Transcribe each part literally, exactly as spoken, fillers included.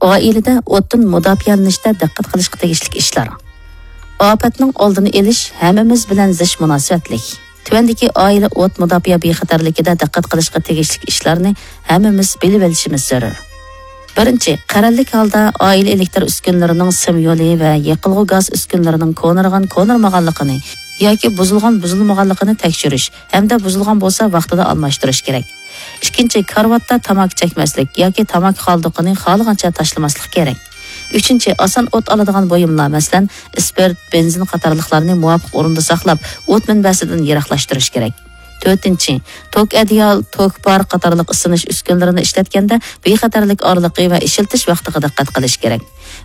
ئائىلىدە ئوتتىن مۇداپىئەلىنىشتە دىققەت قىلىشقا تېگىشلىك ئىشلار. ئاپەتنىڭ ئالدىنى ئېلىش ھەممىمىز بىلەن زىچ مۇناسىۋەتلىك. تۆۋەندىكى ئائىلە ئوت مۇداپىئە بىخەتەرلىكىدە دىققەت قىلىشقا تېگىشلىك ئىشلارنى ھەممىمىز بىلىۋېلىشىمىز زۆرۈر. بىرىنچى، قەرەللىك ھالدا ئائىلە ئېلېكتىر ئۈسكۈنىلىرىنىڭ سىم يولى ۋە يېقىلغۇ گاز ئۈسكۈنىلىرىنىڭ كونىرىغان كونىرىمىغانلىقىنى ياكى بۇزۇلغان بۇزۇلمىغانلىقىنى تەكشۈرۈش ھەمدە بۇزۇلغان بولسا ۋاقتىدا ئالماشتۇرۇش كېرەك. ئىككىنچى، كارىۋاتتا تاماكا چەكمەسلىك ياكى تاماكا قالدۇقىنى خالىغانچە تاشلىماسلىق كېرەك. ئۈچىنچى، ئاسان ئوت ئالىدىغان بۇيۇملار، مەسىلەن، ئىسپىرت، بېنزىن قاتارلىقلارنى مۇۋاپىق ئورۇندا ساقلاپ، ئوت مەنبەسىدىن يىراقلاشتۇرۇش كېرەك. تۆتىنچى، توك ئەدىيال، توك بار قاتارلىق ئىسسىنىش ئۈسكۈنىلىرىنى ئىشلەتكەندە بىخەتەرلىك ئارىلىقى ۋە ئىشلىتىش ۋاقتىغا دىققەت قىلىش كېرەك.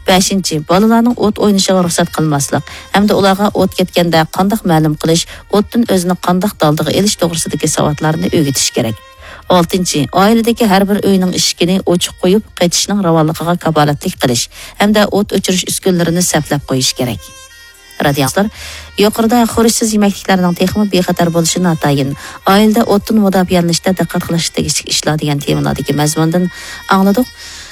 بەشىنچى، بالىلارنىڭ ئوت ئوينىشىغا رۇخسەت قىلماسلىق ھەمدە ئۇلارغا ئوت كەتكەندە قانداق مەلۇم قىلىش، ئوتتىن ئۆزىنى قانداق دالدىغا ئېلىش توغرىسىدىكى ساۋاتلارنى ئۆگىتىش كېرەك. ئالتىنچى، ئائىلىدىكى ھەر بىر ئۆينىڭ ئىشىكىنى ئوچۇق قويۇپ، قېچىشنىڭ راۋانلىقىغا كاپالەتلىك قىلىش ھەمدە ئوت ئۆچۈرۈش ئۈسكۈنىلىرىنى سەپلەپ قويۇش كېرەك. رادىيو ئاڭلىغۇچىلار، يۇقىرىدا خۇرۇچسىز يېمەكلىكلەرنىڭ تېخىمۇ بىخەتەر بولۇشى ناتايىن، ئائىلىدە ئوتتىن مۇداپىئەلىنىشتە دىققەت قىلىشقا تېگىشلىك ئىشلار دېگەن تېمىلاردىكى مەزمۇندىن ئاڭلىدۇق.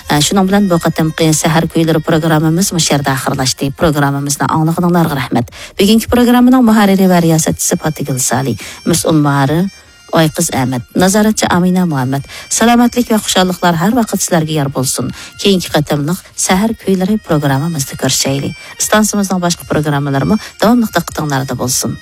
ئە، شۇنىڭ بىلەن بۇ قېتىمقى سەھەر كۈيلىرى پروگراممىمىز مۇشۇ يەردە ئاخىرلاشتى. پروگراممىمىزنى ئاڭلىغىنىڭلارغا رەھمەت. بۈگۈنكى پروگراممىنىڭ مۇھەررىرى ۋە رىياسەتچىسى پاتىگۈل سالى، مەسئۇل مۇھەررىر ئايقىز ئەمەت، نازارەتچى ئامىنە مۇھەممەت. سالامەتلىك ۋە خۇشاللىقلار ھەر ۋاقىت سىلەرگە يار بولسۇن. كېيىنكى قېتىملىق سەھەر كۈيلىرى پروگراممىمىزدا كۆرۈشەيلى. ئىستانسىمىزنىڭ باشقا پروگراممىلىرىمۇ داۋاملىق دىققىتىڭلاردا بولسۇن.